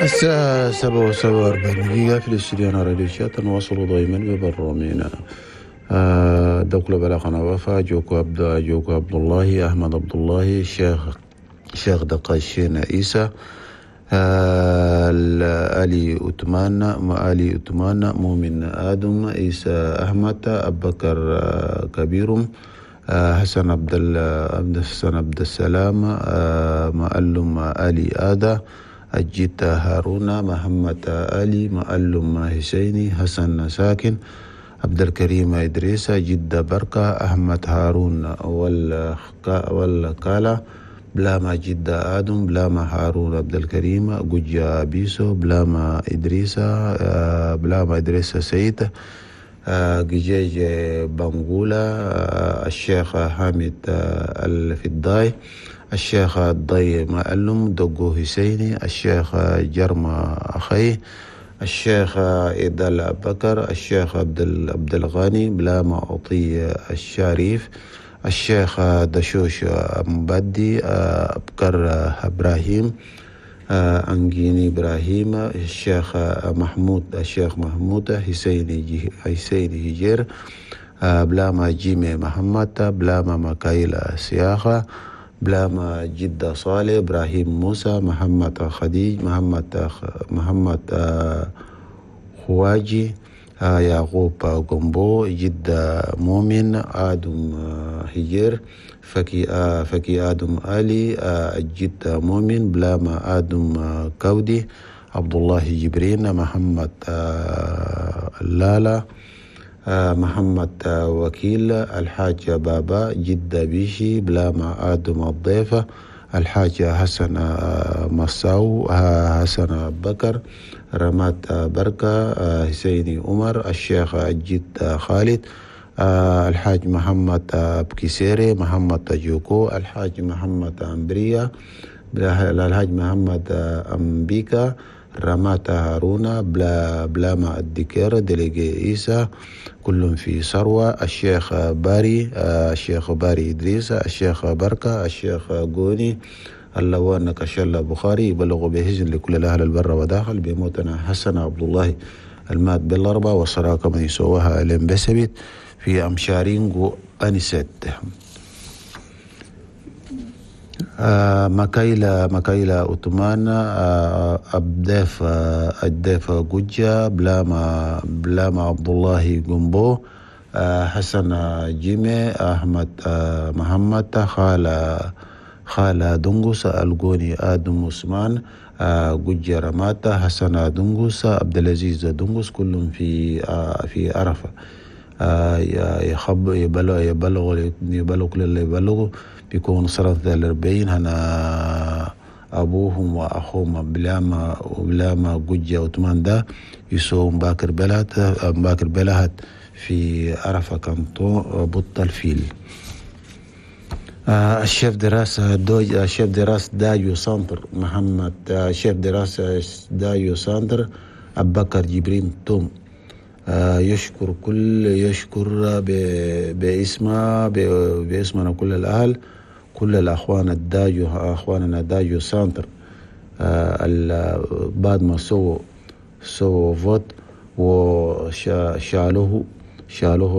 الساعة 7:47 في الاستوديو راديو شات. نواصل دائما ببرنامجنا دولة بلاغنا وفا جوكو عبد الله، أحمد عبد الله، الشيخ دقاشين عيسى، علي أتمان، مؤمن آدم، عيسى أحمد، أبو بكر كبيرم، حسن عبد السلام، معلم علي آدا، الجيت هارون، محمد علي، معلم حسيني، حسن ساكن، عبد الكريم إدريس، جدة بركة، أحمد هارون والكالا، بلاما جدة آدم، بلاما هارون عبد الكريم، جوجا بيسو، بلاما إدريس سيد، جيجي بانغولا، الشيخ حامد الفضاي، الشيخ الضي معلم، دقو حسيني، الشيخ جرما أخي، الشيخ إدال بكر، الشيخ عبد الغني، بلاما عطية الشريف، الشيخ دشوش مبدي، أبكر إبراهيم، أنجيني إبراهيم، الشيخ محمود حسيني هجير، بلاما جيمي محمد، بلاما مكايلة سياخة، بلاما جدة صالح، إبراهيم موسى، محمد خديج، محمد خواجي، يعقوب قنبو، جدة مؤمن، آدم هجير، فكي آدم علي، جدة مؤمن، بلاما آدم كودي، عبد الله جبرين، محمد لالا، محمد وكيل، الحاج بابا، جدة بيشي، بلاما آدم الضيفة، الحاج حسن مساو، حسن بكر، رمات بركة، حسيني عمر، الشيخ جد خالد، الحاج محمد بكسيري، محمد جوكو، الحاج محمد أمبريا، الحاج محمد أمبيكا، رمات هارونا، بلاما الدكير، دليجي إيسا، كلهم في ثروة، الشيخ باري، الشيخ باري إدريس، الشيخ بركة، الشيخ غوني، اللوان كشل بخاري. يبلغ بهزن لكل الأهل البر وداخل بموتنا حسن عبد الله المات بالأربعة والصراكة من يسوها لم بسبت في أمشارينغو أنست. مكايلة أوتمان، أبداف جوجا، بلاما عبد الله جنبو، حسن جيمي، أحمد محمد، خالة دنغوس، الجوني آدم عثمان، جوجا رماتا، حسن دنغوس، عبد العزيز دنغوس، كلهم في عرفة. يبلغ اللي يبلغوا بيكون صارت 40 هنا أبوهم وأخوهم بلاما جوجا وثمان ده يسوم باكر بلهت في عرفة كانتون بط الفيل. الشيف دراسة دايو سانتر محمد، الشيف دراسة دايو سانتر أبو بكر جبرين توم، يشكر باسمنا كل الأهل، كل الأخوان الدايو، أخواننا دايو سانتر، بعد ما سووا vote وشالوه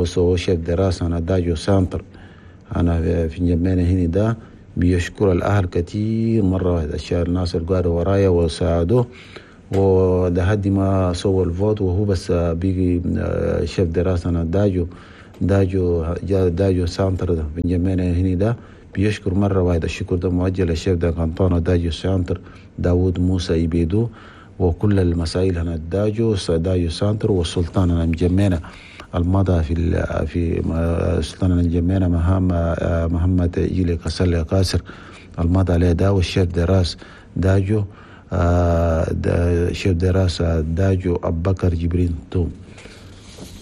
سووا شيف دراسة أنا دايو سانتر أنا في جنبنا هنا ده. بيشكر الأهل كتير مرة واحدة، الشهر الناس اللي قعدوا ورايا وساعدوه، وده هدي ما سوى ال vote وهو بس بيجي شيف دراسة أنا داجو سانتر ده في جنبنا هنا ده. بيشكر مرة واحدة، الشكر ده موجه للشيف ده كانتونا داجو سانتر داود موسى يبيدو وكل المسائل هنا داجو سانتر والسلطان أنا مجمعنا المضى في سلطان الجمينة محمد جيلي كسل قاسر المضى عليه دا، والشيف دراس داجو، شيف دراسة داجو أبو بكر جبرين توم.